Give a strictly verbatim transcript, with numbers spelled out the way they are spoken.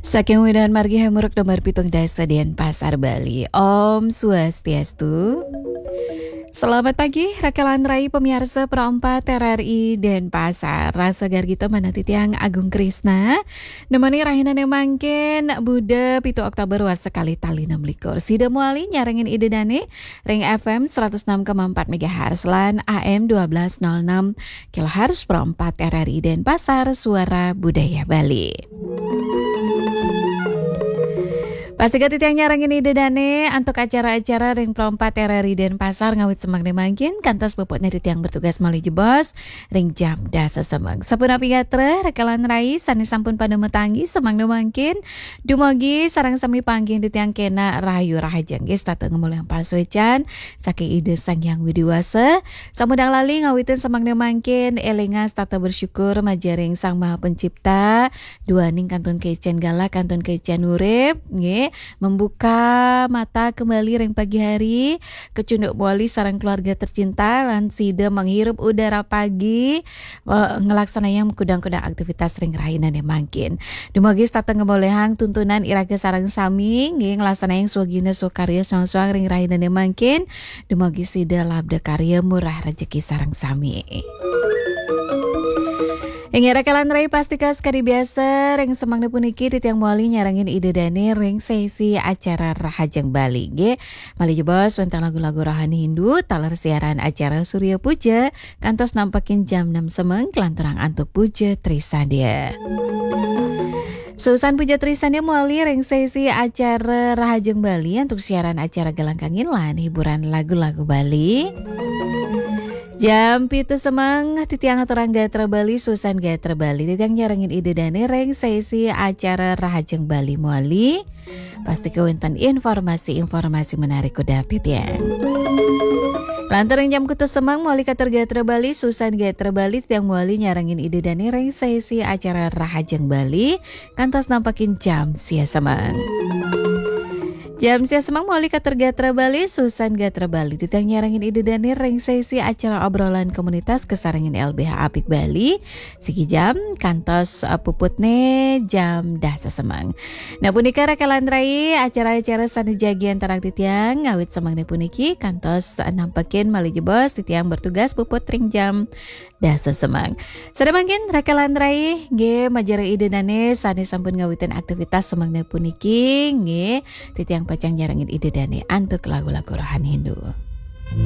Saking Widhan Margi Hamuruk nomor pitung dasa Denpasar, Bali. Om Swastiastu. Selamat pagi, Rakelan Rai, pemirsa Pro empat R R I Denpasar. Rasa gargita manati tiang Agung Krisna. Nemoni rahina ne mangkin, Buda pitu Oktober warsa kali tali enam likur. Sida muali nyarengin Ida Dane, ring F M seratus enam koma empat megahertz lan A M dua belas nol enam kilohertz Pro empat R R I Denpasar, Suara Budaya Bali. Pastika titiang nyarengin Ida Dane antuk acara-acara ring Pro empat R R I Denpasar ngawit semeng ne mangkin, kantos puputne titiang bertugas malih jebos ring jam dasa semeng. Sapunapi gatra, Rakelan Rai, sane sampun pada matanggi semeng ne mangkin, dumogi sareng sami panggihin titiang kena rahayu rahajeng. Nggih, setata ngamolihang pasuecan saking Ida Sang Hyang Widi Wasa. Samudang lali ngawitin semeng ne mangkin, elinga setata bersyukur majaring Sang Maha Pencipta, duaning kantun kaicen galah, kantun kaicen urip, nggih, membuka mata kembali ring pagi hari, kecunduk muali sareng keluarga tercinta, lan sida menghirup udara pagi, eh, ngelaksanayang kudang-kudang aktivitas ring rahinane mangkin. Dumogi setata ngamolihang tuntunan iraga sareng sami, nggih, ngelaksanayang swagina swakarya soang-soang ring rahinane mangkin. Dumogi sida labda karya murah rejeki sareng sami. Inggih, Rakelan Rai, pastika sakadi biasa ring semeng ne puniki titiang muali nyarengin Ida Dane ring sesi acara Rahajeng Bali, nggih. Malih jebos wenten lagu-lagu rohani Hindu, taler siaran acara Surya Puja, kantos nampekin jam enam semeng, kalanturang antuk Puja Trisandya. Susan Puja Trisandya muali ring sesi acara Rahajeng Bali antuk siaran acara Galang Kangin lan hiburan lagu-lagu Bali. Jam pitu semeng, titiang aturang gatra Bali, Susan Gatra Bali. Titiang nyarengin Ida Dane ring sesi acara Rahajeng Bali muali. Pastika wenten informasi-informasi menarik kudar titiang. Lantur ring jam kutus semeng, muali katur gatra Bali, Susan Gatra Bali, titiang muali nyarengin Ida Dane ring sesi acara Rahajeng Bali, kantos nampekin jam sia semeng. Jam sia semeng muali katur gatra Bali, Susan Gatra Bali, titiang nyarengin Ida Dane ring sesi acara obrolan komunitas kasarengin L B H Apik Bali, siki jam, kantos, eh, puputne jam dasa semeng. Nah, punika Rakelan Rai, acara-acara sane jagi antarang titiang, ngawit semengne puniki, kantos, eh, nampekin malih jebos, titiang bertugas puput ring jam dasa semeng. Sada mangkin, Rakelan Rai, nggih, majaring Ida Dane sane sampun ngawitin aktivitas semengne puniki, nggih, titiang pacang nyarengin Ida Dane antuk lagu-lagu rohani Hindu.